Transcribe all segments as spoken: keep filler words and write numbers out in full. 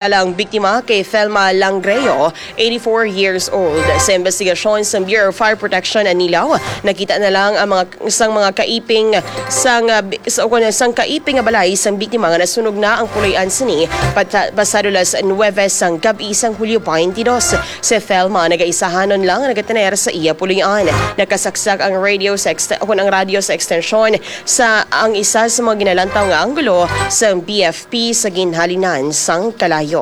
Ang biktima kay Thelma Langreo, eighty-four years old. Sa investigasyon sa Bureau of Fire Protection Anilao, nakita na lang ang mga, sang mga kaiping sang, ah, bi-, sa, o kuno sang kaiping nga balay sang biktima nga nasunog na ang puloy-an sini pata-, pasado las nuwebe sang gab-i sang Hulyo twenty twenty-two. Si Thelma nagaisahanon lang nagataner sa iya puloy-an. Nakasaksak ang radio sa ekste-, o kuno ang radyo sa ekstensyon sa ang isa sa mga ginalantaw nga anggulo sang B F P sa ginhalinan sang kalayo.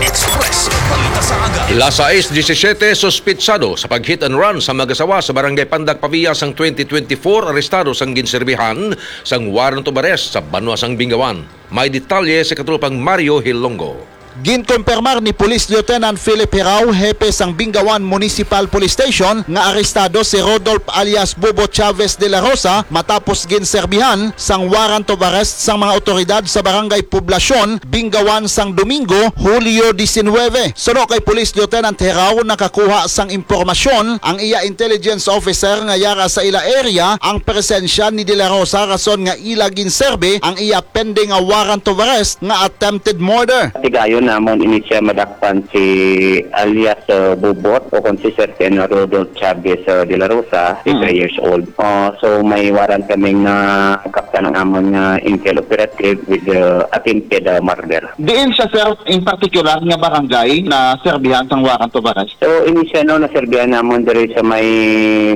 Express, balita sa aga. Las sais disisiete, suspitsado sa pag-hit and run sa mag-asawa sa Barangay Pandak Pavia sang twenty twenty-four, arestado sang ginserbihan sang warrant of arrest sa banwa sang Bingawan. May detalye si Katropang Mario Hilongo. Ginkumpirmar ni Police Lieutenant Philip Hirao, hepe sang Bingawan Municipal Police Station, nga arestado si Rodolph alias Bobo Chavez de la Rosa matapos ginserbihan sang warrant of arrest sang mga awtoridad sa Barangay Poblacion, Bingawan sang Domingo, Hulyo diecinuebe. Suno kay Police Lieutenant Hirao, nakakuha sang impormasyon ang iya intelligence officer nga yara sa ila area ang presensya ni De La Rosa, rason nga ila ginserbi ang iya pending nga warrant of arrest nga attempted murder. Tigayon namon ini siya madakpan si alias, uh, Bubot o kung si Sir Ken Rodolph Chavez, uh, de la Rosa, fifty-three Mm. years old. Uh, so may warrant kaming nakaptan ang amon nga intel operative with the attempted, uh, murder. Diin siya, sir, in particular nga barangay na serbihan sang warrant of arrest? So, ini siya, no, naserbihan namon diri sa may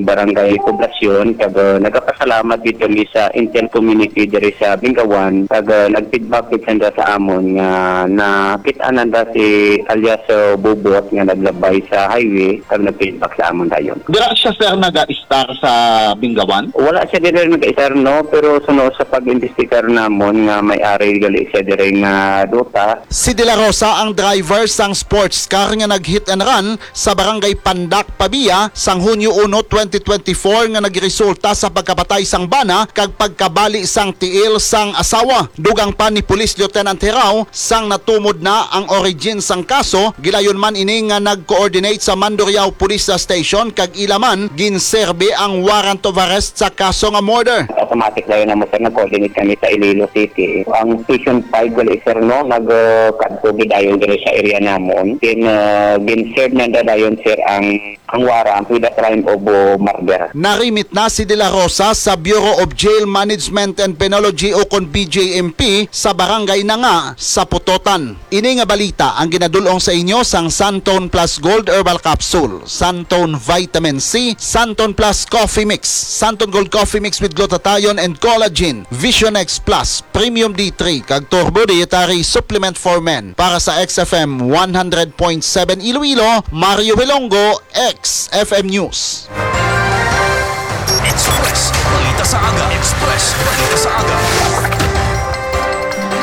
barangay Poblacion, kag, uh, nagapasalamat gid kami sa intel community diri sa Bingawan, kag, uh, nag-feedback gid sanda sa amon nga nakit-an nanda si alias, uh, Bubot nga naglabay sa highway, kag nag-feedback sa amon dayon. Dira siya, sir, naga-istar sa Bingawan? Wala siya diri nag-istar, no, pero suno sa pag-imbestigar namon nga may ari gali siya diri nga duta. Si De La Rosa ang driver sang sports car nga nag-hit and run sa Barangay Pandak, Pavia, sang Hunyo uno, twenty twenty-four, nga nagresulta sa pagkapatay sang bana kag pagkabali sang tiil sang asawa. Dugang pa ni Police Lieutenant Hirao, sang natumod na ang origin sang kaso, gilayon man ini nga nag-coordinate sa Mandurriao Police Station kag ila man ginserbi ang warrant of arrest sa kaso nga murder. Automatic dayon namo, sir, nag-coordinate kami sa Iloilo City. Ang Station five gali, sir, no, nag, uh, kadto gid dayon diri sa area namon. Then, uh, gin-serve na dayon, sir, ang, ang warrant with the crime of, uh, murder. Narimit na si De La Rosa sa Bureau of Jail Management and Penology o kon B J M P sa barangay Nanga sa Pototan. Ini nga balita ang ginadul-ong sa inyo sang Santone Plus Gold Herbal Capsule, Santone Vitamin C, Santone Plus Coffee Mix, Santone Gold Coffee Mix with Glutathione and Collagen, Vision X Plus, Premium D three, kag Turbo Dietary Supplement for Men. Para sa X F M one hundred point seven Iloilo, Mario Hilongo, X F M News. Express, balita sa aga. Express, balita sa aga.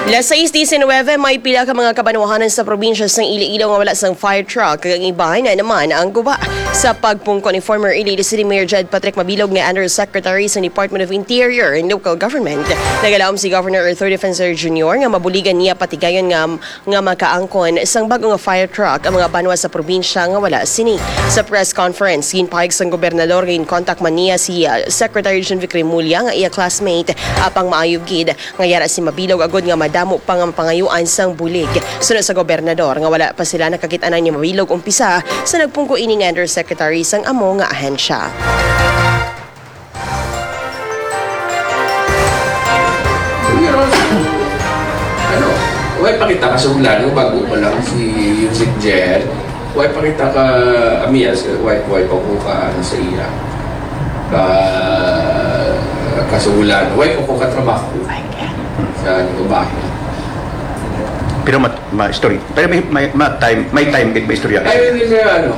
Las sais diecinuebe, may pila ka mga kabanwahanan sa probinsya sang Iloilo nga wala sang fire truck, kag ang iban naman ang guba. Sa pagpungko ni former Iloilo City Mayor Jed Patrick Mabilog nga Undersecretary sa Department of Interior and Local Government, nagalaom si Governor Arthur Defensor Junior nga mabuligan niya patigayon nga nga makaangkon sang bag-o nga fire truck ang mga banwa sa probinsya nga wala sini. Sa press conference, ginpahayag sang gobernador nga ginkontak man niya si, ah, Secretary John Vic Remulla nga iya classmate, apang maayo gid nga yara si Mabilog agud nga madamo pa nga mapangayuan sang bulig. Suno sa gobernador nga wala pa sila nakakit-anan ni Mabilog umpisa sa nagpungko ini nga undersecretary sang amo nga ahensya. Pero, ano, way pa kita kasunglan, no? Bago pa lang si Yusik Jer. Way pa kita ka, amias, way, way pa ko ka, ano, sa iya. Ka, kasunglan. Way pa ko ka trabaho. Sa, ano, bahay. Pero mat, ma, story. Pero may, may, ma, time, may time, may istorya. Ay, hindi na, ano,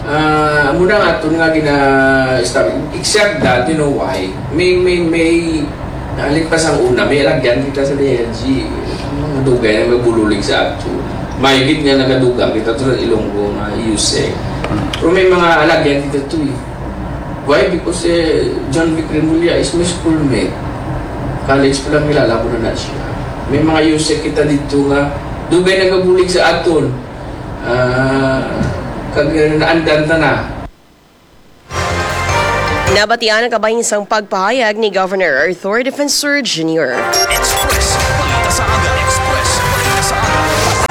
Ah, amo na nga aton nga gina-, stab-, exact that, you know why? May, may, may, naalit pa sang una, may alagyan kita sa D L G. Ang dugay na magburulig sa ato. May gid nga nagadugang kita to sa Ilonggo nga U S E C. Pero may mga alagyan kita to eh. Why? Because, eh, John Vic Remulla is my schoolmate. College pa lang, kilala ko na na siya. May mga U S E C kita dito nga dugay nagabulig sa aton. Ah, kag naandan ta na. Nabatian ang kabahin sang pagpahayag ni Governor Arthur Defensor Junior. Express, balita sa aga. Express, balita sa aga.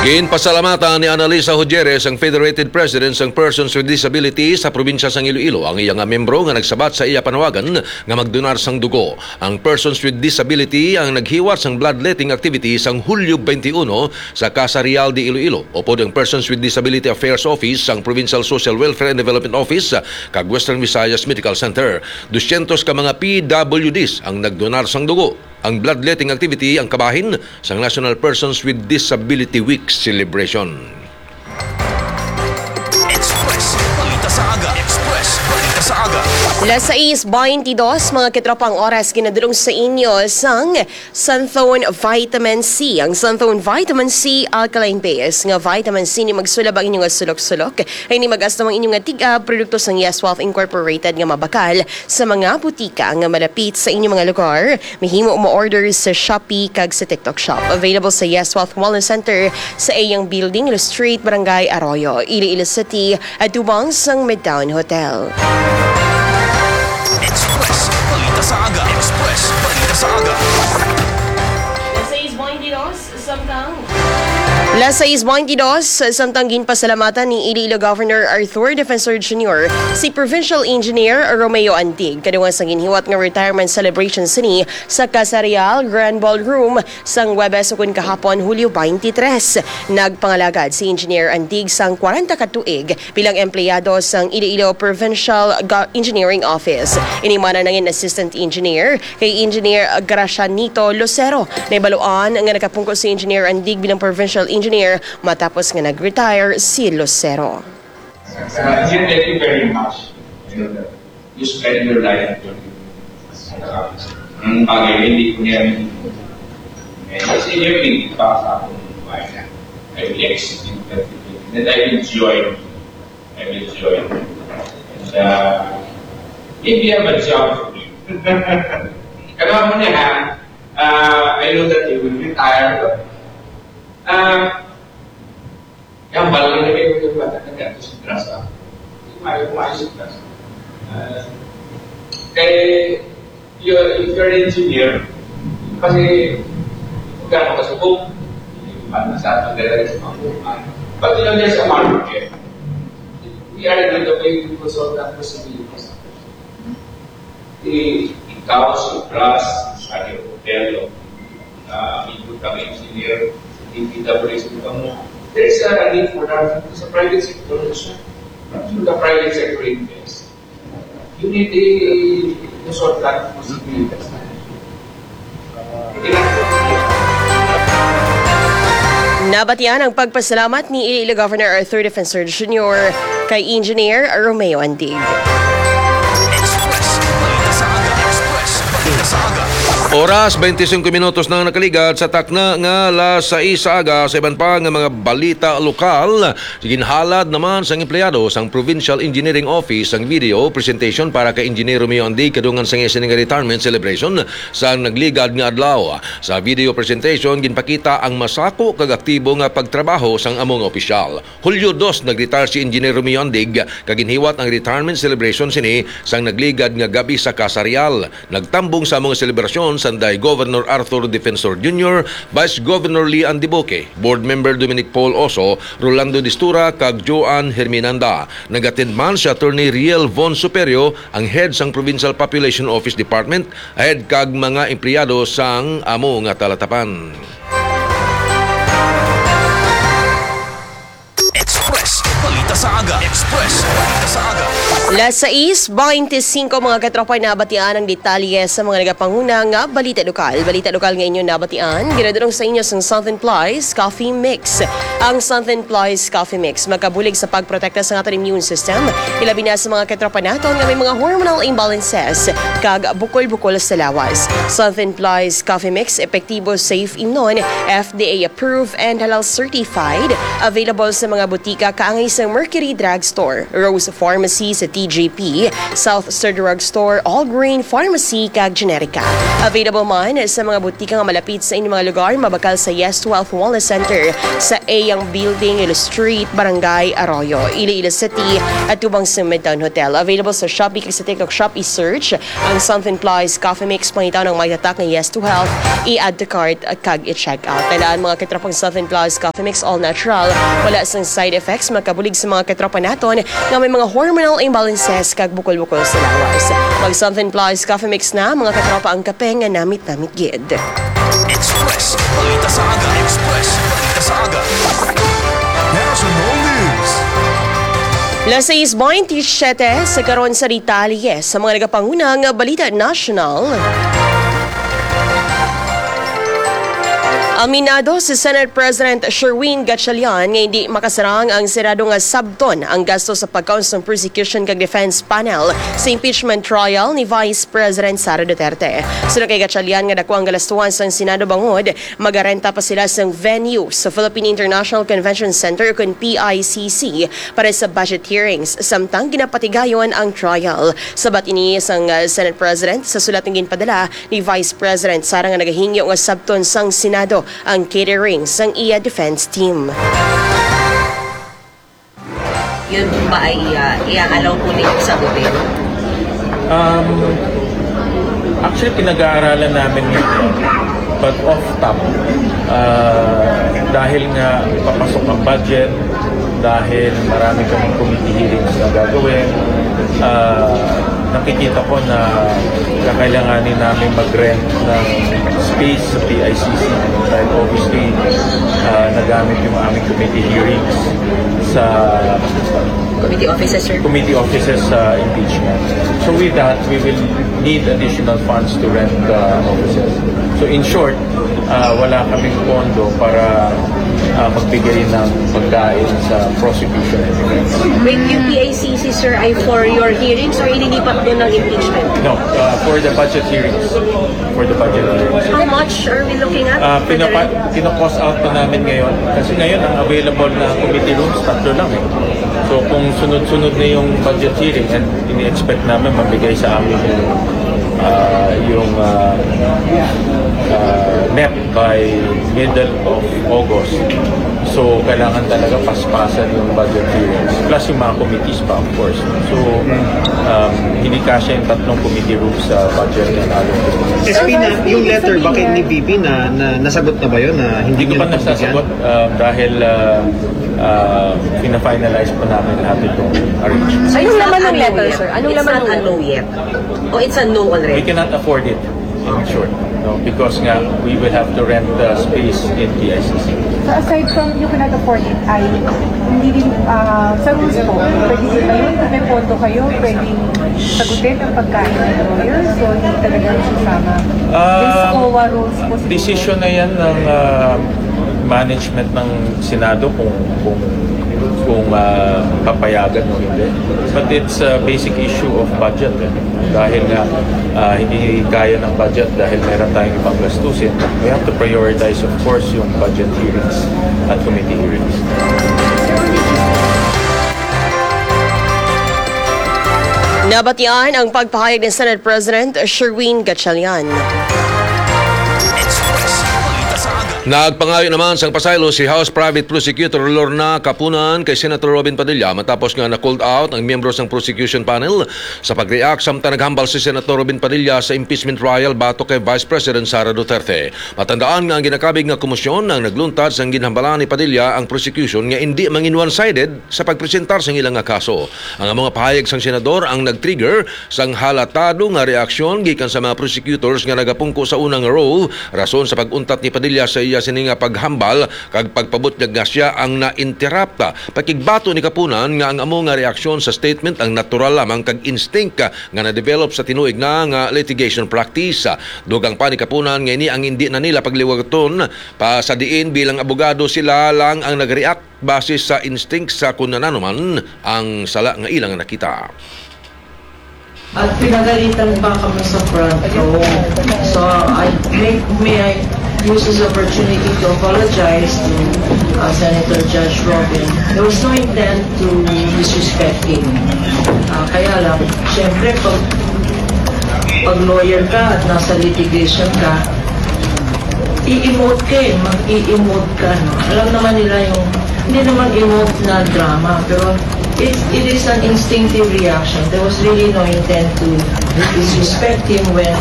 Ginpasalamatan ni Annalisa Hojeres, ang Federated President sang Persons with Disabilities sa probinsya sang Iloilo, ang iya nga membro nga nagsabat sa iya panawagan nga magdonar sang dugo. Ang Persons with Disability ang naghiwat sang bloodletting activity sang Hulyo twenty-one sa Casa Real de Iloilo, upod ang Persons with Disability Affairs Office sang Provincial Social Welfare and Development Office kag Western Visayas Medical Center. Dusyentos ka mga P W Ds ang nagdonar sang dugo. Ang bloodletting activity ang kabahin sang National Persons with Disability Week celebration. Express Balita sa Aga. Express Balita sa Aga. Las sais baintidos, mga katropa, ang oras ginadulong sa inyo sang Santhone Vitamin C. Ang Santhone Vitamin C, alkaline base nga vitamin C, ni magsulab ang inyong sulok-sulok. Ay ni mag-astam ang inyong tig-ab, produkto sang Yes Wealth Incorporated nga mabakal sa mga butika nga malapit sa inyong mga lugar. Mahimo mo-order sa Shopee kag sa TikTok Shop. Available sa Yes Wealth Wellness Center sa iyang building, Ilustreet, Barangay Arroyo, Iloilo City, atubang sang Midtown Hotel. Express Balita sa Aga. Express Balita sa Aga. Las sais baintidos, samtang Las sais baintidos, samtang ginpasalamatan ni Iloilo Governor Arthur Defensor Junior si Provincial Engineer Romeo Andig, kadungan sa ginhiwat nga retirement celebration sini sa Casa Real Grand Ballroom sang Huwebes ukon kahapon, Hulyo twenty-three. Nagpangalagad si Engineer Andig sang kwarenta ka tuig bilang empleyado sang Iloilo Provincial Go- Engineering Office. Ini man ang nangin assistant engineer kay Engineer Gracianito Lucero. Nahibaluan nga nakapungko si Engineer Andig bilang provincial engineer matapos nga nag-retire si Lucero. Uh, Sir, thank you very much. You know, that you spend your life doing it. Ang bagay, hindi ko niya rin. Eh, kasi yun yung para sa akong buhay na. I will execute that. And I enjoy. I enjoy. And uh, maybe I have a job for you. Alam mo niya, ha? Uh, I know that you will retire, but uh, Kaya balik na kayo yung bata na gato sa grasa. Hindi mayo kumain sa grasa. Ah, kay, you're, if you're an engineer, kasi, kung gano'n ka subok, yung bata sa atin, dala sa mga buhay. But you know, there's a market. We are in the way to consult that possibilities. Ikaw, si Pras, si Hotel, uh, amigo kami engineer, si D P W S kamo. There is a need for that sa private sector also. Through the private sector invest. You need a consultant who's invest. Nabatian ang pagpasalamat ni Iloilo Governor Arthur Defensor Junior kay Engineer Romeo Andig. Oras, twenty-five minutos na nakaligad sa takna nga las sais sa aga. Sa iban pa nga mga balita lokal, ginhalad naman sang empleyado sang Provincial Engineering Office ang video presentation para kay Engineer Romeo Andig kadungan sang iya sini nga retirement celebration sa nagligad nga adlaw. Sa video presentation, ginpakita ang masako kag aktibo nga pagtrabaho sang amo nga opisyal. Hulyo dos nag-retire si Engineer Romeo Andig, kag ginhiwat ang retirement celebration sini sang nagligad nga gab-i sa Casa Real. Nagtambong sa amo nga selebrasyon sanday Governor Arthur Defensor Junior, Vice Governor Lee Ann Debuque, Board Member Dominic Paul Oso, Rolando Distura, kag Joan Herminanda. Nag-attend man si Attorney Riel Von Superio, ang head sang Provincial Population Office Department, ahead kag mga empleyado sang amo nga talatapan. Express Balita sa Aga. Express Balita sa Aga. Las sais baintisinko, mga katropa, nabatian ang detalye sa mga nagapanguna nga balita lokal. Balita lokal nga inyo nabatian, ginadulong sa inyo sang Southern Plies Coffee Mix. Ang Southern Plies Coffee Mix makabulig sa pagprotekta sa aton immune system, ilabi na sa mga katropa naton nga may mga hormonal imbalances kag bukol-bukol sa lawas. Southern Plies Coffee Mix, epektibo, safe imnon, F D A approved and halal certified. Available sa mga butika kaangay sa Mercury Drugstore, Rose Pharmacy sa G P, South Star Drug Store, All Green Pharmacy, kag Generica. Available man sa mga butika nga malapit sa inyong mga lugar, mabakal sa Yes Twelve Wellness Center sa Eyang Building, Ilo Street, Barangay Arroyo, Iloilo City, at tubang sa Midtown Hotel. Available sa Shopee kag sa TikTok Shop. I-search ang Something Plus Coffee Mix, pangitan ang may tatak nga Yes to Health, i-add to cart, kag i-check out. Tandaan, mga katropang, Southern Plus Coffee Mix, all natural, wala sang side effects, makabulig sa mga katropa naton nga may mga hormonal imbalances kag bukol-bukol sa lawas. Mag Southern Plus Coffee Mix na, mga katropa, ang kape nga namit-namit gid. Express Balita sa Aga. Express Balita sa Aga. National News. Las sais bainti siyete sa karon sa detalye sa mga nagapangunang balita nasyonal. Aminado si Senate President Sherwin Gatchalian nga hindi makasarang ang Senado nga sabton ang gasto sa pagkaon sang prosecution kag defense panel sa impeachment trial ni Vice President Sara Duterte. Suno kay Gatchalian nga dako ang galastuhan sang Senado bangod magarenta pa sila sang venue sa Philippine International Convention Center, kun P I C C, para sa budget hearings, samtang ginapatigayon ang trial. Sabat ini sang, uh, Senate President sa sulat nga ginpadala ni Vice President Sara nga nagahingyo nga sabton sang Senado ang catering sang iya defense team. Yun ba ay, ah, i-allow po ninyo sa gobyerno? Um, actually, pinag-aaralan namin yun. But off top, ah, dahil nga papasok ang budget, dahil marami kaming committee hearings na gagawin, ah, nakikita ko na kakailanganin namin mag-rent ng space sa P I C C. Dahil obviously, ah, nagamit yung aming committee hearings sa Committee offices, sir. Committee offices sa impeachment. So with that, we will need additional funds to rent the offices. So in short, ah, wala kaming pondo para, ah, magbigay ng pagkain sa prosecution and defense. Wait, yung P I C C, sir, ay for your hearings or ililipat doon ng impeachment? No, ah, for the budget hearings. For the budget hearings. How much are we looking at? Ah, for the pinapa-, rent? Kino-cost out pa namin ngayon. Kasi ngayon, ang available na committee rooms, tatlo lang eh. So, kung sunod-sunod na yung budget hearing, and ini-expect namin mabigay sa amin yung, ah, yung, ah, ah, NEP by middle of August. So, kailangan talaga paspasan yung budget hearings. Plus yung mga committees pa, of course. So, um, hindi kasya yung tatlong committee rooms sa budget na natin. S P, na, yung letter ba kay ni V P na, na nasagot na ba yun na hindi Hindi ko niyo pa napagbigyan? Nasasagot, um, dahil, uh, uh, pina-finalize pa namin lahat itong arrangement. So, anong laman ng letter, sir? Anong laman ng letter? It's not a no yet. Oh, it's a no already. We cannot afford it, in short, no? Because nga, we will have to rent the space in P I C C. So, aside from you cannot afford it, ay hindi din, ah, sa rules po, pwede din ba yun? Kung may pondo kayo, pwedeng sagutin ang pagkain ng lawyer? So, hindi talaga susama. Ah, based COA rules po siguro. Decision na yan ng, ah, management ng Senado kung, kung, kung, ah, papayagan o hindi. But it's a basic issue of budget, eh. Dahil nga, ah, hindi kaya ng budget dahil meron tayong ibang gastusin. We have to prioritize, of course, yung budget hearings at committee hearings. Nabatian ang pagpahayag ni Senate President Sherwin Gatchalian. Nagpangayo naman sang pasaylo si House Private Prosecutor Lorna Kapunan kay Senator Robin Padilla matapos nga na-called out ang miyembro sang prosecution panel sa pag-react samtang naghambal si Senator Robin Padilla sa impeachment trial batok kay Vice President Sara Duterte. Matandaan nga ang ginakabig nga komisyon ang nagluntad sang ginhambalan ni Padilla ang prosecution nga indi mangin one-sided sa pagpresentar sang ila nga kaso. Ang amo nga pahayag sang senador ang nag-trigger sang halatado nga reaksyon gikan sa mga prosecutors nga nagapungko sa unang row, rason sa pag-untat ni Padilla sa iya sini nga paghambal kag pagpabutyag nga sia ang na-interrupt. Pakigbato ni Kapunan nga ang amo nga reaksyon sa statement ang natural lamang kag instinct nga na-develop sa tinuig na nga litigation practice. Dugang pa ni Kapunan nga ini ang indi na nila pagliwaton pa sa diin bilang abogado sila lang ang nag-react base sa instinct sa kung nanano man ang sala nga ilang nakita. At pinagalitan pa kami sa front row. So, I make, may I use this opportunity to apologize to, uh, Senator Josh Robin, there was no intent to disrespect him. Ah, kaya lang, syempre, pag, pag lawyer ka at nasa litigation ka, i-emote ka eh, mag-i-emote ka, no? Alam naman nila yung, hindi naman emote na drama, pero it, it is an instinctive reaction. There was really no intent to disrespect him when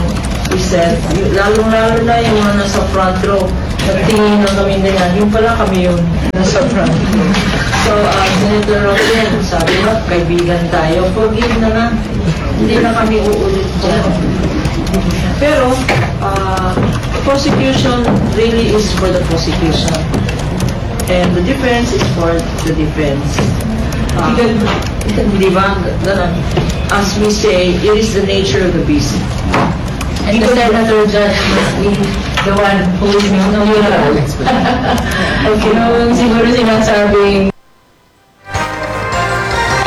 he said, y-, lalong-lalo na yung mga nasa front row, nagtingin lang kami nila, yung pala kami yun, nasa front row. So, uh, Senator Robin, sabi mo, kaibigan tayo, forgive na lang. Hindi na kami uulit dyan. Pero, uh, prosecution really is for the prosecution. And the defense is for the defense. Uh, di ba? Ganun. As we say, it is the nature of the beast. And the senator judge must be the one who is no, no, no. Okay, no, siguro sinasabing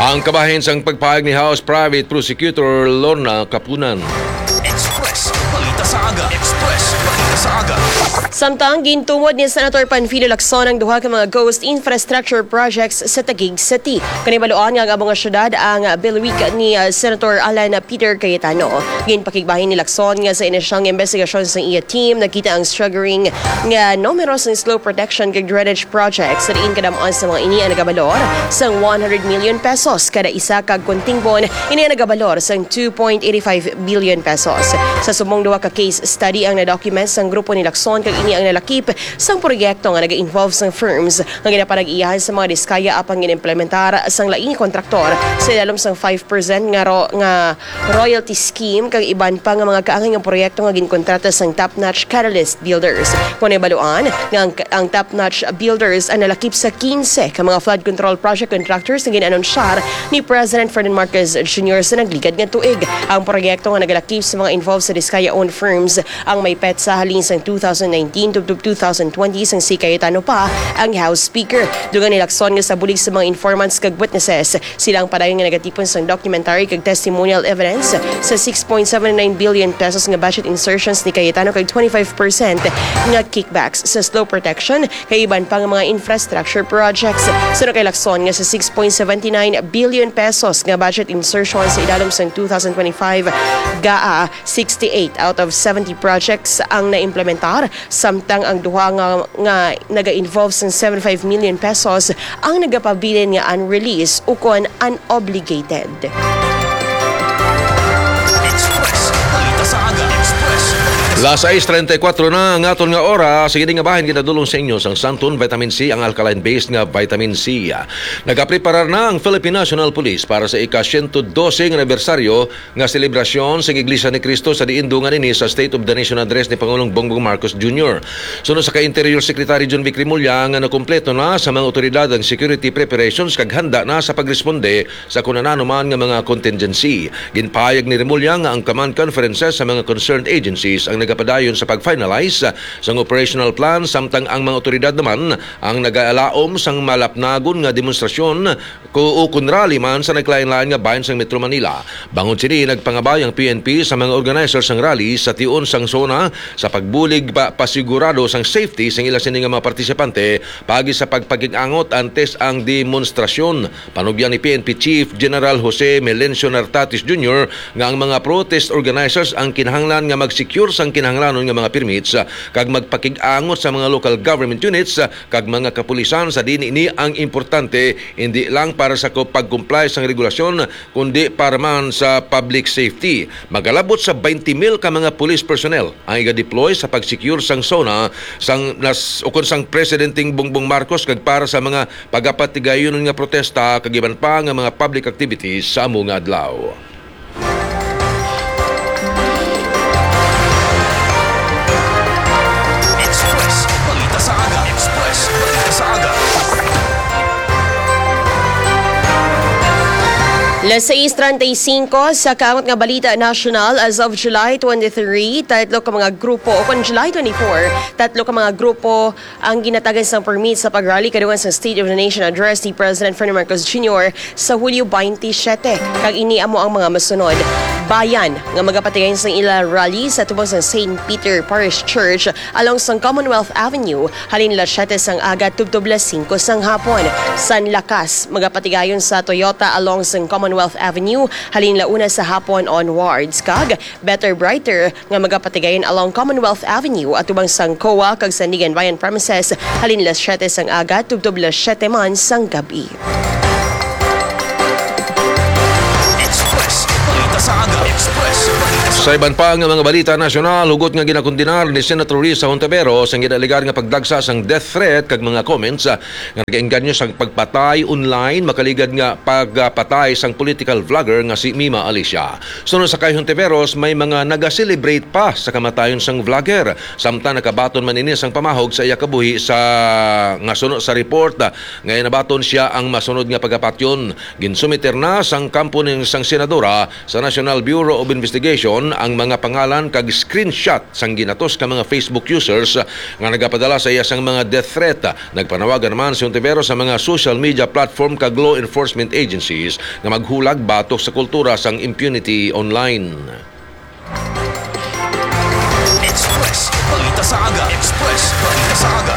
Ang kabahin sang pagpahayag ni House Private Prosecutor Lorna Kapunan. Express. Balita sa aga. Express. Balita sa aga. Samtang gintumod ni Senator Panfilo Lacson ang duha ka mga ghost infrastructure projects sa Taguig City. Kanibaluan nga ang amo nga syudad ang bilwig ni, ah, Senator Alan Peter Cayetano. Ginpakigbahin ni Lacson nga sa ina siyang investigasyon sa iya team, nakita ang staggering nga numero sang slope protection kag drainage projects sa diin kadam-an sa mga ini ang nagabalor sang one hundred million pesos kada isa kag kontingbon ini ang nagabalor sang two point eight five billion pesos. Sa subong duha ka case study ang na-document sang grupo ni Lacson kag ini ang nalakip sang proyekto nga naga-involve sang firms nga ginapanag-iyahan sa mga diskaya apan ginimplementar sang laing kontraktor sa ilalom sang five percent nga ro-, nga royalty scheme kag iban pa nga mga kaangay nga proyekto nga ginkontrata sang Top Notch Catalyst Builders. Kon nahibaluan nga ang, ang Top Notch Builders ang nalakip sa quince ka mga flood control project contractors nga gin-anunsyar ni President Ferdinand Marcos Junior sa nagligad nga tuig. Ang proyekto nga nagalakip sa mga involved sa Diskaya-owned firms ang may petsa halin sang two thousand nineteen tubtob two thousand twenty sang si Cayetano pa ang House Speaker. Dugang ni Lacson nga sa bulig sa mga informants kag witnesses, sila ang padayon nga nagatipon sang documentary kag testimonial evidence sa six point seven nine billion pesos nga budget insertions ni Cayetano kag twenty-five percent nga kickbacks sa slope protection kag iban pa nga mga infrastructure projects. Suno kay Lacson nga sa six point seven nine billion pesos nga budget insertions sa idalom sang two thousand twenty-five, gaa sixty-eight out of seventy projects ang naimplementar, samtang ang duha nga, nga naga-involve sang seventy-five million pesos ang nagapabilin nga unreleased ukon unobligated. Express. Balita sa aga. Express. Las sais treinta y cuatro na ang aton nga oras. Sige, nga bahin ginadulong sa inyo sang Santon Vitamin C, ang alkaline-based nga vitamin C. Nagapreparar na ang Philippine National Police para sa ika-siyento dose nga anibersaryo nga selebrasyon sang Iglesia ni Cristo, sa diin dungan ini sa State of the Nation Address ni Pangulong Bongbong Marcos Junior. Suno sa kay Interior Secretary Jonvic Remulla nga nakumpleto na sa mga awtoridad ang security preparations kag handa na sa pagresponde sa kon ano man nga mga contingency. Ginpahayag ni Remulla nga ang command conferences sa mga concerned agencies ang nagapadayon sa pag-finalize sang operational plan, samtang ang mga awtoridad naman ang nagaalaom sang malapnagon nga demonstrasyon ku-, ukon rally man sa nagkalain-lain nga bahin sang Metro Manila. Bangod sini, nagpangabay ang P N P sa mga organizer sang rally sa tion sang SONA sa pagbulig pa, pasigurado sang safety sang ila sini nga mga partisipante paagi sa pagpakig-angot antes ang demonstrasyon. Panugyan ni P N P Chief General Jose Melencio Nartatis Junior nga ang mga protest organizers ang kinahanglan nga mag-secure sang kinahanglanon nga mga permits, ah, kag magpakig-angot sa mga local government units, ah, kag mga kapulisan sa diin ini ang importante, hindi lang para sa ko-, pag-comply sang regulasyon, kundi para man sa public safety. Magalabot sa twenty mil ka mga police personnel ang iga-deploy sa pag-secure sang SONA sang nas-, ukon sang Presidenteng Bongbong Marcos kag para sa mga pagapatigayonon nga protesta kag iban pa nga mga public activities sa amo nga adlaw. Express, balita sa aga. Express, balita sa aga. Las sais treinta y cinco sa kaangot nga balita nasyonal, as of July twenty-three, tatlo ka mga grupo, o kon July twenty-four, tatlo ka mga grupo ang ginatagan sang permit sa pag-rally kadungan sa State of the Nation Address ni President Ferdinand Marcos Junior sa Hulyo twenty-seven, kag ini amo ang mga masunod. Bayan nga magapatigayon sang ila rally sa tubang sang Saint Peter Parish Church along sang Commonwealth Avenue, halin las siete sang aga tubtob las singko sang hapon. San Lakas, magapatigayon sa Toyota along sang Commonwealth Avenue, halin la una sa hapon onwards, kag Better Brighter nga magapatigayon along Commonwealth Avenue atubang sang coa kag Sandiganbayan premises, halin las siete sang aga tubtob las siete man sang gab-i. Express Balita sa Aga. Express Balita sa Sa iban pa nga mga balita nasyonal, hugot nga ginakondenar ni Senator Risa Hontiveros ang ginalegar nga pagdagsa sang death threat kag mga comments, ah, nga nagaengganyo sang pagpatay online, makaligad nga pagpatay sang political vlogger nga si Mima Alicia. Suno sa kay Hontiveros, may mga naga-celebrate pa sa kamatayon sang vlogger, samtang nakabaton man ini sang pamahog sa iya kabuhi sa nga suno sa report, ah, nga nabaton sia ang masunod nga pagapatyon. Ginsumiter na sang kampo ning sang senadora sa National Bureau of Investigation ang mga pangalan kag screenshot sang ginatos ka mga Facebook users nga nagapadala sa iya sang mga death threat. Nagpanawagan naman si Hontiveros sa mga social media platform kag law enforcement agencies nga maghulag batok sa kultura sang impunity online. Express Balita sa Aga. Express Balita sa Aga.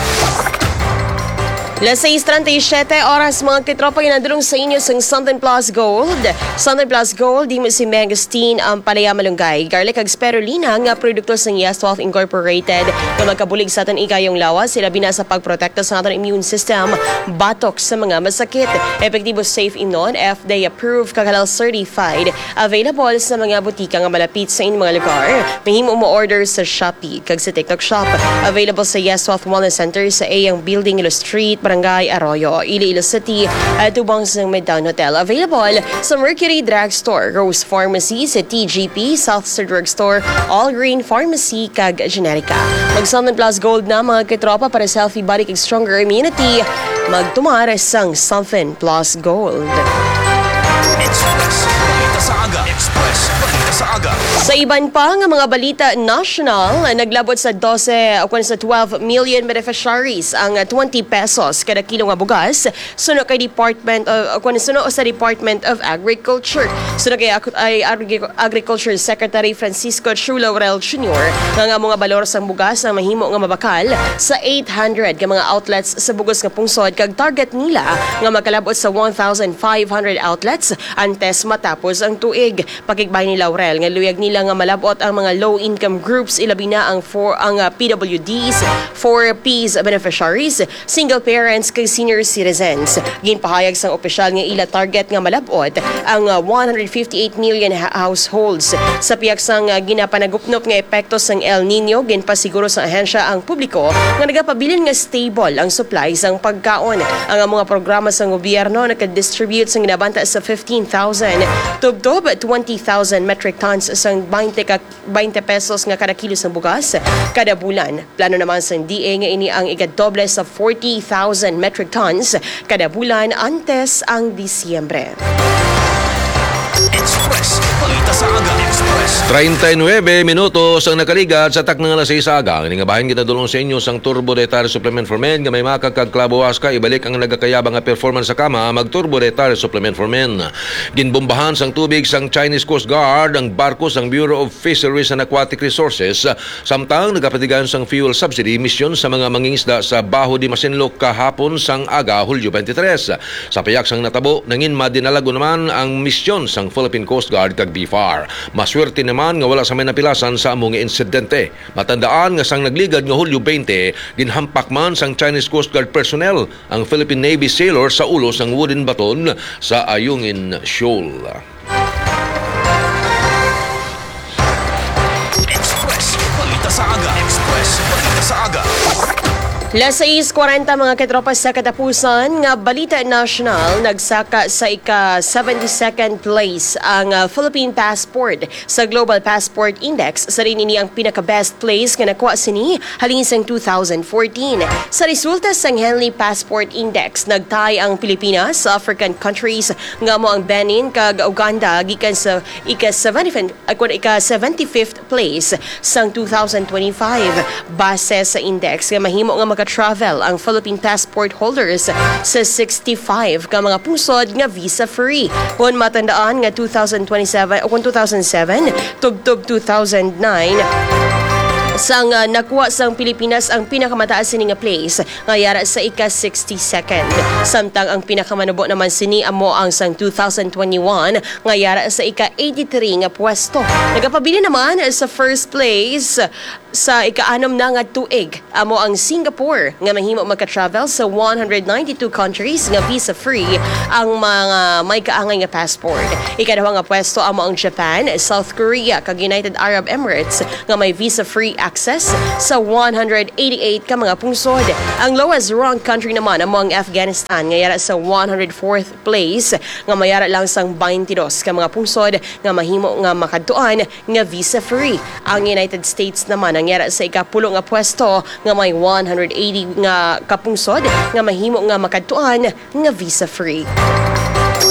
Las sais treinta y siete oras, mga katropa, ginadulong sa inyo sang Something Plus Gold. Something Plus Gold, imo si Mangosteen ang palaya malunggay, garlic kag spirulina nga produkto sang Yes twelve Incorporated nga magkabulig sa aton igayong lawas, ilabi na sa pagprotekta sa aton immune system batok sa mga masakit. Epektibo, safe imnon, F D A approved kag halal certified. Available sa mga butika nga malapit sa inyong mga lugar. Mahimo mo-order sa Shopee kag sa TikTok Shop. Available sa Yes twelve Wellness Center sa Eyang Building, Iloilo Street, Barangay Arroyo, Iloilo City, at tubang sa Midtown Hotel. Available sa Mercury Drugstore, Rose Pharmacy, sa T G P, South Star Drugstore, All Green Pharmacy, kag Generica. Mag Something Plus Gold na, mga katropa, para sa healthy body kag stronger immunity. Magtumar sang Something Plus Gold. Express Balita sa Aga. Express Balita sa Aga. Sa iban pa nga mga balita nasyonal, naglabot sa dose o kon sa twelve million beneficiaries ang twenty pesos kada kilo nga bugas, suno kay Department of, o kon suno sa Department of Agriculture. Suno kay Ag-, ay Agri-, Agriculture Secretary Francisco Chu Laurel Junior, nga ang mga balor sang bugas ang mahimo nga mabakal sa eight hundred ka mga outlets sa bug-os nga pungsod, kag target nila nga makalabot sa one thousand five hundred outlets antes matapos ang tuig. Pakigbahin ni Laurel nga luyag nila nga malabot ang mga low-income groups, ilabi na ang four, ang, ah, P W Ds, four Ps beneficiaries, single parents, kag senior citizens. Ginpahayag sang opisyal nga ila target nga malabot ang, ah, one hundred fifty-eight million ha-, households. Sa pihak sang, ah, ginapanagupnop nga epekto sang El Niño, ginpasiguro sang ahensya ang publiko nga nagapabilin nga stable ang supply sang pagkaon. Ang mga programa sang gobyerno nakadistribute sang ginabanta sa fifteen thousand tubtob twenty thousand metric tons sang twenty ka, twenty pesos nga kada kilo sang bugas kada bulan. Plano naman sang D A nga ini ang ikadoble sa forty thousand metric tons kada bulan antes ang Disyembre. Express Balita sa Aga. Express. Treinta y nueve minutos ang nakaligad sa takna nga alas seis sa aga. Ini nga bahin ginadulong sa inyo sang Turbo Dietary Supplement for Men nga may maka kag Clavo Huasca. Ibalik ang nagakayabang nga performance sa kama, mag Turbo Dietary Supplement for Men. Ginbombahan sang tubig sang Chinese Coast Guard ang barko sang Bureau of Fisheries and Aquatic Resources, samtang nagapatigayon sang fuel subsidy misyon sa mga mangingisda sa Baho de Masinloc kahapon sang aga, Hulyo twenty-three. Sa pihak sang natabo, nangin madinalagon naman ang misyon sang Philippine Coast Guard kag BFAR. Maswerte naman nga wala sa may napilasan sa amo nga insidente. Matandaan nga sang nagligad nga Hulyo twenty, ginhampak man sang Chinese Coast Guard personnel ang Philippine Navy sailor sa ulo sang wooden baton sa Ayungin Shoal. Express Balita sa Aga. Express Balita sa Aga. Las sais kwarenta, mga katropa, sa katapusan nga balita nasyonal, nagsaka sa ika seventy-second place ang, ah, Philippine Passport sa Global Passport Index. Sa rin ini ang pinaka-best place nga nakuha sini halin sang two thousand fourteen. Sa resulta sang Henley Passport Index, nagtay ang Pilipinas sa African countries nga amo ang Benin kag Uganda gikan sa ika seventy, ah, kun ika seventy-fifth place sang two thousand twenty-five. Base sa index nga mahimo nga maka-travel ang Philippine passport holders sa sixty-five ka mga pungsod nga visa-free. Kon matandaan nga two thousand twenty-seven o kung two thousand seven, tubtob two thousand nine, sang, ah, nakuha sang Pilipinas ang pinakamataas sini nga place nga yara sa ika sixty-second. Samtang ang pinakamanubo naman sini amo ang sang two thousand twenty-one nga yara sa ika eighty-three nga pwesto. Nagapabilin naman sa first place sa ika-anom na nga tuig amo ang Singapore, nga mahimo maka-travel sa one hundred ninety-two countries nga visa-free ang mga may kaangay nga passport. Ikaduha nga pwesto amo ang Japan, South Korea, kag United Arab Emirates nga may visa-free access sa one hundred eighty-eight ka mga pungsod. Ang lowest ranked country naman amo ang Afghanistan, nga yara sa one hundred fourth place, nga mayara lang sang twenty-two ka mga pungsod nga mahimo nga makadtuan nga visa-free. Ang United States naman ang yara sa ikapulo nga pwesto nga may one hundred eighty nga kapungsod nga mahimo nga makadtuan nga visa-free.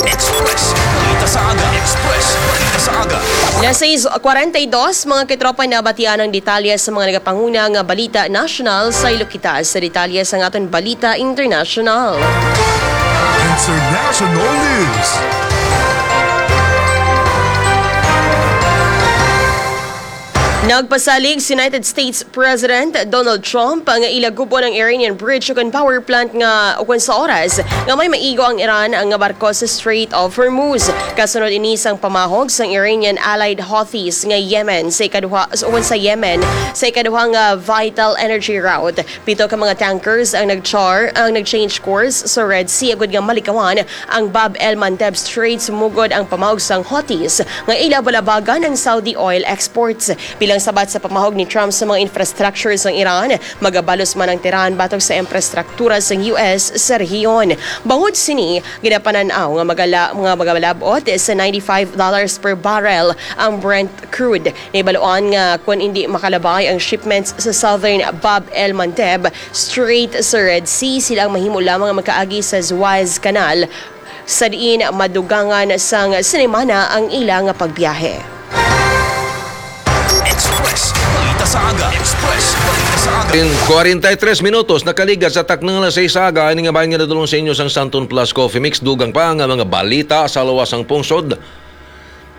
Express Balita sa Aga. Express Balita sa Aga. Las sais kwarenta y dos, mga katropa, nabatian ang detalye sa mga nagapanguna nga balita nasyonal. Saylo kita sa detalye sang aton balita internasyonal. International News. Nagpasalig si United States President Donald Trump nga ila gub-on ang Iranian bridge ukon power plant nga ukon sa oras nga may maigo ang Iran nga barko sa Strait of Hormuz. Kasunod ini sang pamahog sang Iranian allied Houthis nga Yemen sa ikaduha, ukon sa Yemen sa ikaduha nga vital energy route. Pito ka mga tankers ang nag-char-, ang nag-change course sa Red Sea agud nga malikawan ang Bab el Mandeb Strait, sumugod ang pamahog sang Houthis nga ila balabagan ang Saudi oil exports. Bilang sabat sa pamahog ni Trump sa mga infrastructure sang Iran, magabalos man ang Tehran batok sa infrastruktura sang U S sa rehiyon. Bangod sini, ginapanan-aw nga magala-, nga magalab-ot sa ninety-five dollars per barrel ang Brent crude. Nahibaluan nga kon indi makalabay ang shipments sa Southern Bab el Mandeb Strait sa Red Sea, sila ang mahimo lamang nga makaagi sa Suez Canal, sa diin madugangan sang sinimana ang ila nga pagbiyahe. Express Balita sa Aga. Express Balita sa Aga. In kwarenta y tres minutos, nakaligad sa taknang alas sais sa aga, ini nga bahin nga nadulong sa inyo sang Santon Plus Coffee Mix. Dugang pa nga mga balita sa lawas sang pungsod.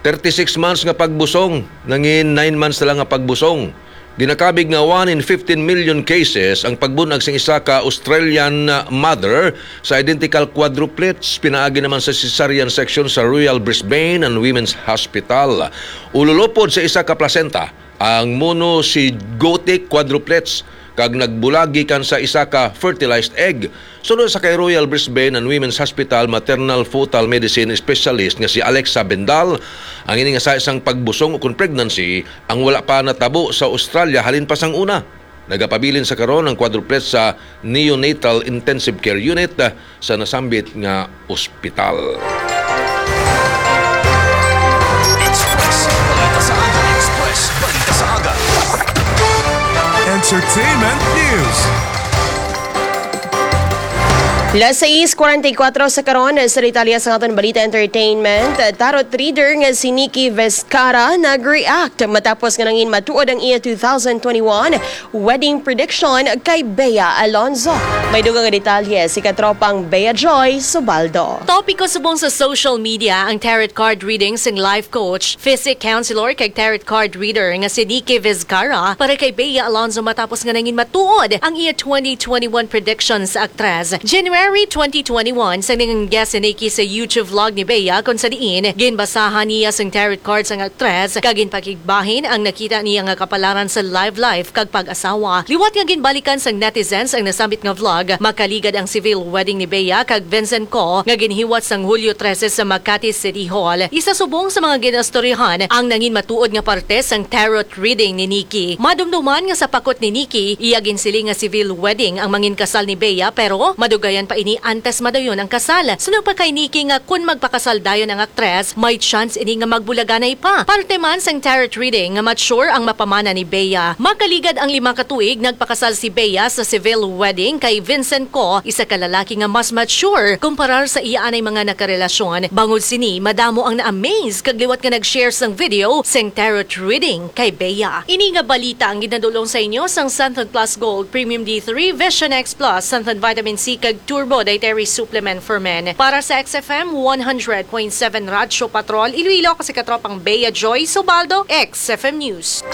Thirty-six months nga pagbusong, nangin nine months na lang nga pagbusong. Ginakabig nga one in fifteen million cases ang pagbunag sang isa ka Australian mother sa identical quadruplets pinaagi naman sa cesarean section sa Royal Brisbane and Women's Hospital. Ululopod sa isa ka placenta ang monozygotic quadruplets kag nagbulag gikan sa isa ka fertilized egg. Suno sa kay Royal Brisbane and Women's Hospital maternal fetal medicine specialist nga si Alexa Bendal, ang ini nga sa isang pagbusong ukon pregnancy ang wala pa natabo sa Australia halin pa sang una. Nagapabilin sa karon ang quadruplets sa Neonatal Intensive Care Unit, ah, sa nasambit nga ospital. Express Balita sa Aga. Express Balita sa Aga. Entertainment News. Las sais kwarenta y kuwatro sa karon, sa detalye sa aton balita entertainment, tarot reader nga si Nikki Vizcarra nag-react matapos nga nangin matuod ang iya two thousand twenty-one wedding prediction kay Bea Alonzo. May dugang nga detalye si katropang Bea Joy Subaldo. Topiko subong sa social media ang tarot card reading sang life coach, physic counselor kag tarot card reader nga si Nikki Vizcarra para kay Bea Alonzo matapos nga nangin matuod ang iya twenty twenty-one prediction sa aktres. January February twenty twenty-one, sa nangin guest si Nikki sa YouTube vlog ni Bea, kung sa diin ginbasahan niya sang tarot cards ang aktres, kag ginpakigbahin ang nakita niya nga kapalaran sa live life kag pag-asawa. Liwat nga ginbalikan sang netizens ang nasambit nga vlog, makaligad ang civil wedding ni Bea kag Vincent Co nga ginhiwat sang Hulyo trese sa Makati City Hall. Isa subong sa mga ginastoryahan ang nangin matuod nga parte sang tarot reading ni Nikki. Madumduman nga sa pakot ni Nikki, iya ginsiling nga civil wedding ang mangin kasal ni Bea, pero madugayan pa ini antes madayon ang kasal. Suno pa kay Nikki nga kun magpakasal dayon ang aktres, may chance ini nga magbulaganay pa. Parte man sang tarot reading nga mature ang mapamana ni Bea. Makaligad ang lima ka tuig, nagpakasal si Bea sa civil wedding kay Vincent Co, isa ka lalaki nga mas mature kumparar sa iya anay mga nakarelasyon. Bangod sini, madamo ang na-amaze kag liwat nga nag-share sang video sang tarot reading kay Bea. Ini nga balita ang ginadulong sa inyo sang Santon Plus Gold, Premium D three, Vision X Plus, Santon Vitamin C, kag Turbo Dietary Supplement for Men. Para sa X F M one hundred point seven Radyo Patrol Iloilo, ako si Katropang Bea Joy Subaldo, X F M News.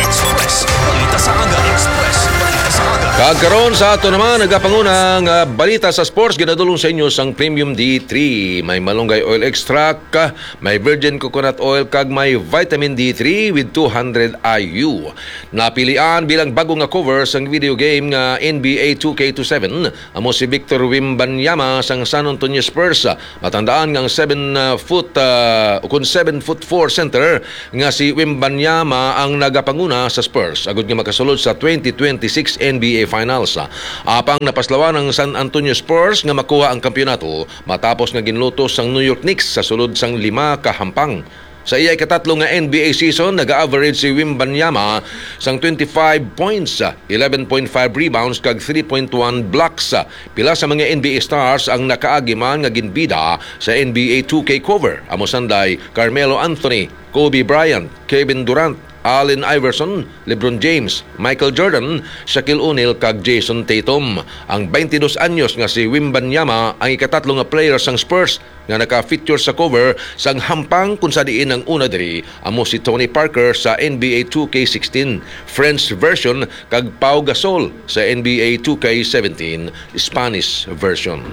Express Balita sa Aga. Express Balita sa Aga. Kag karon sa ato naman, nagapanguna nga balita sa sports, ginadulong sa inyo sang Premium D three. May malunggay oil extract, may virgin coconut oil, kag may vitamin D three with two hundred I U. Napilian bilang bago nga cover sang video game nga N B A two K twenty-seven, amo si Victor Wembanyama sang San Antonio Spurs. Matandaan nga ang seven, uh, foot, uh, ukon seven foot four center nga si Wembanyama ang nagapanguna sa Spurs agud nga makasulod sa twenty twenty-six N B A Finals. Apang napaslawan ang San Antonio Spurs nga makuha ang kampiyonato matapos nga ginlutos sang New York Knicks sa sulod sang lima ka hampang. Sa iya ikatatlo nga N B A season, naga-average si Wembanyama sang twenty-five points, eleven point five rebounds, kag three point one blocks. Pila sa mga N B A stars ang nakaagi man nga ginbida sa N B A two K cover, amo sanday Carmelo Anthony, Kobe Bryant, Kevin Durant, Allen Iverson, LeBron James, Michael Jordan, Shaquille O'Neal, kag Jayson Tatum. Ang twenty-dos anyos nga si Wembanyama ang ikatatlo nga player sang Spurs nga naka-feature sa cover sang hampang, kung sa diin ang una diri amo si Tony Parker sa N B A two K sixteen French version kag Pau Gasol sa N B A two K seventeen Spanish version.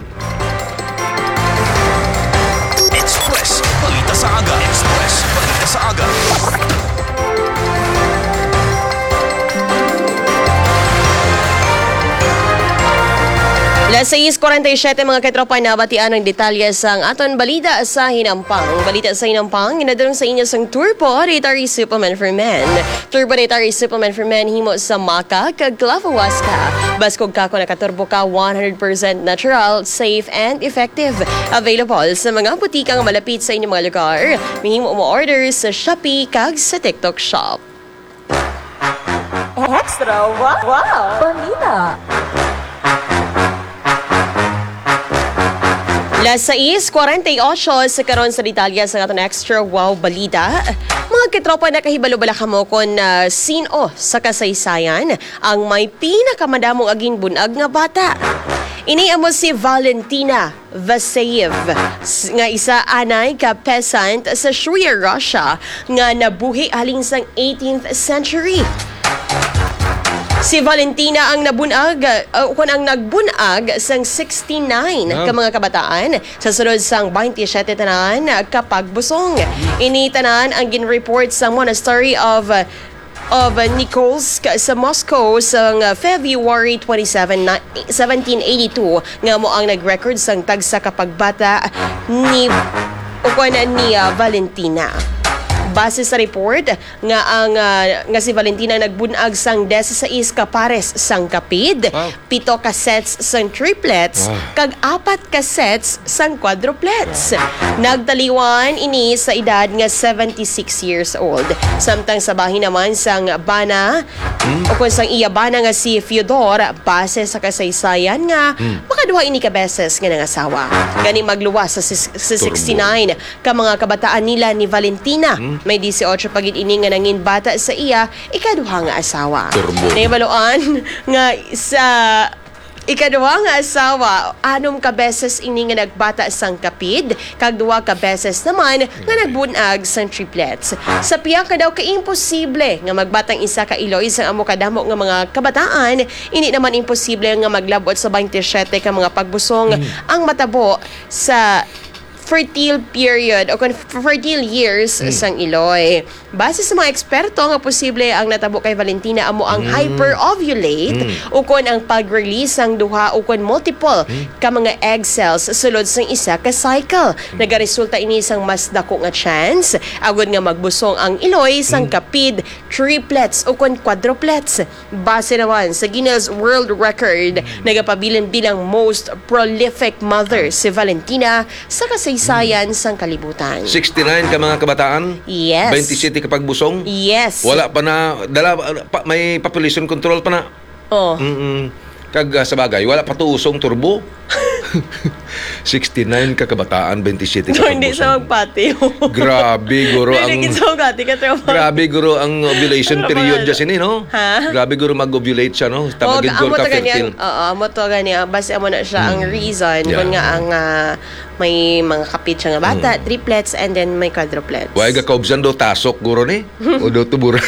Express Balita sa Aga. Express Balita sa Aga. Las sais cuarenta y siete, mga katropa, nabatian ang detalye sang aton balita sa hinampang. Balita sa hinampang, ginadulong sa inyo sang Turbo Dietary Supplement for Men. Turbo Dietary Supplement for Men himo sa maca kag clavo huasca. Baskog ka kon nakaturbo ka, one hundred percent natural, safe, and effective. Available sa mga butika nga malapit sa inyong mga lugar. Mahimo mo order sa Shopee kag sa TikTok Shop. Extra wow, wow. Balita. Las sais cuarenta y ocho sa karon sa detalye sa aton Extra Wow Balita. Mga katropa, nakahibalo bala kamo kon, ah, sin-o sa kasaysayan ang may pinakamadamo nga ginbun-ag nga bata? Ini amo si Valentina Vaseyev, s-, nga isa anay ka peasant sa Shwir, Russia, nga nabuhi halin sang eighteenth century. Si Valentina ang nabun-ag, uh, ukon ang nagbun-ag sang sixty-nine Ah. ka mga kabataan sa sulod sang twenty-seven tanan ka pagbusong. Ini tanan ang gin-report sa Monastery of, uh, of Nikolsk sa Moscow sang February twenty-seven, na, seventeen eighty-two, nga amo ang nag-record sang tagsa ka pagbata ni, ukon ni, ah, Valentina. Base sa report nga ang, ah, nga si Valentina nagbun-ag sang disisais ka pares sang kapid, Wow. pito ka sets sang triplets, Wow. kag apat ka sets sang quadruplets. Nagtaliwan ini sa edad nga seventy-six years old. Samtang sa bahin naman sang bana, Hmm? ukon sang iya bana nga si Fyodor, base sa kasaysayan nga Hmm. makaduha ini ka beses nga nangasawa. Gani magluwas sa sis-, sa Turbo. sixty-nine ka mga kabataan nila ni Valentina. Hmm? May dieciocho pa gid ini nga nangin bata sa iya ikaduha nga asawa. Turbo. Nahibaluan nga sa Ikaduha nga asawa, anom ka beses ini nga nagbata sang kapid, kag duha ka beses naman nga nagbun-ag sang triplets. Sa pihak nga daw ka imposible nga magbata ang isa ka iloy sang amo kadamo nga mga kabataan, indi naman imposible nga maglab-ot sa twenty-seven ka mga pagbusong ang matabo sa fertile period o kon fertile years sang iloy. Base sa mga eksperto, nga posible ang natabo kay Valentina amo ang hyperovulate o kon ang pag-release sang duha o kon multiple ka mga egg cells sulod sang isa ka cycle. Nagaresulta ini sang mas dako nga chance agud nga magbusong ang iloy sang kapid, triplets o kon quadruplets. Base naman sa Guinness World Record, nagapabilin bilang most prolific mother si Valentina sa kasaysayan sang kalibutan. Sixty-nine ka mga kabataan, Yes. twenty-seven ka pagbusong. Yes. Wala pa na, dala, pa, may population control pa na. Oh. Mm-mm. Kag, ah, sa bagay, wala pa to usong turbo. Sixty-nine ka kabataan, twenty-seven ka So, hindi siya pagbusong. magpati. Grabe, guro, Hindi ang, gid sa ugati ka, tropa. grabe, guro, ang ovulation Ano ba period yan? dyan sini, no? Ha? Grabe, guro, mag-ovulate siya, no? Tama, Oh, gid, amo guro, to ka gani ang, fertile. oo, amo to gani ang, base amo na siya ang Mm. reason Yeah. kung nga ang, ah, may mga kapit siya nga bata, Mm. triplets, and then may quadruplets. Why ga kaubsan do tasok, guro, ni? O do tuburan?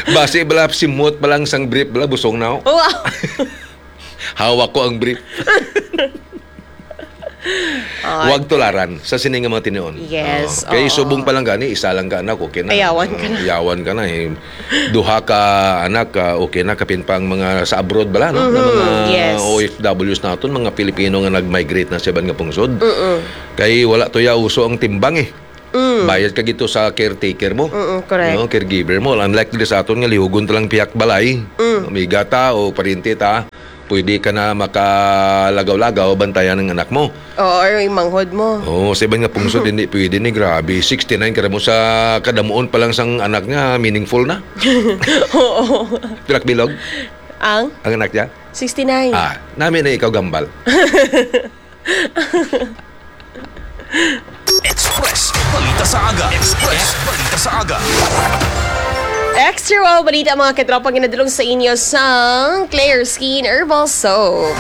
Base bala, simot pa lang sang brief bala, busong na, oh. Wow. Hawak ko ang brief. Ah. Wag tularan sa sini nga mga tinion. Yes, Oo. Kay oo. subong pa lang gani, isa lang ka anak, okay na. Ayawan ka na. Ayawan ka na, eh. Duha ka anak, ah, okay na, kapin pa ang mga sa abroad bala, no? Nga Mhm, mga yes. O F Ws naton, mga Pilipino nga nag-migrate na sa iban nga pungsod. Mm-mm. Kay wala to ya uso ang timbang, eh. Mm. Bayad ka gito sa caretaker mo. Mm-mm, correct. No, caregiver mo. Unlike diri sa aton nga lihugon ta lang pihak balay. Mm. Amiga ta o pariente ta, pwede ka na makalagaw-lagaw, bantayan ang anak mo. Oo, or yung manghod mo. Oo, sa iban nga pungsod, hindi pwede ni. Grabe, sixty-nine ka mo sa kadamuon pa lang sang anak nga, meaningful na. Oo. Pilak bilog? Ang? Ang anak niya? Sixty-nine. Ah, nami na ikaw gambal. Express Balita sa Aga. Express Balita sa Aga. Extra Wow Balita, mga katropa, ginadulong sa inyo sang Clear Skin Herbal Soap.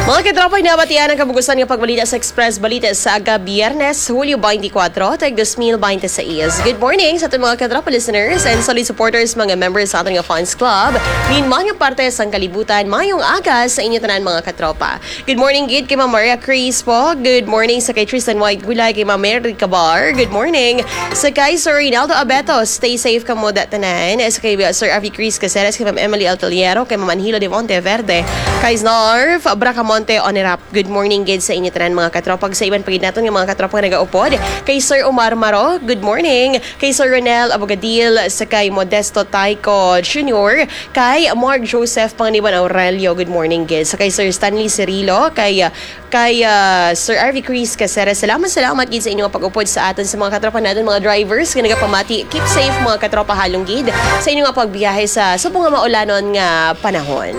Mga katropa, nabatian ang kabugusan nga pagbalita sa Express Balita sa Aga, Biyernes, Hulyo twenty-four, tag dos mil twenty-six. Good morning sa aton mga katropa listeners and solid supporters, mga members sa aton nga fans club. Ninman nga parte sang kalibutan, mayong aga sa inyo tanan, mga katropa. Good morning gid kay Ma'am Maria Crispo. Good morning sa kay Tristan White Gulay, kay Ma'am Mary Cabar. Good morning sa kay Sir Rinaldo Abeto. Stay safe kamo da tanan. Sa kay Sir Avi Chris Caceres, kay Ma'am Emily Altaliero, kay Ma'am Anhilo de Monteverde, kay Snarf Bracamonte Onerap. Good morning gid sa inyo tanan, mga katropa. Sa iban pa gid naton nga mga katropa nga nagaupod, kay Sir Omar Maro, good morning. Kay Sir Ronel Abogadil, sa kay Modesto Taico Junior, kay Mark Joseph Panganiban Aurelio, good morning gid. Sa kay Sir Stanley Cirilo, kay, ah, kay, ah, Sir Arvy Chris Caceres, salamat, salamat gid sa inyong pag-upod sa aton, sa mga katropa naton, mga drivers nga nagapamati. Keep safe, mga katropa, halong gid sa inyong pagbiyahe sa subong nga maulanon nga panahon.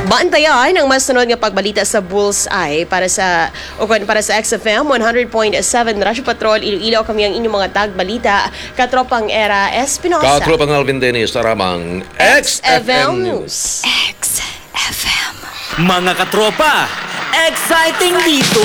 Bantayan ang mas sunod nga pagbalita sa Bullseye para sa, o kon para sa X F M one hundred point seven Radyo Patrol Iloilo. Kami ang inyong mga tagbalita, Katropang Era Espinosa. Katropang Alvin Dennis, taramang X F M News. X F M. Mga katropa, exciting dito!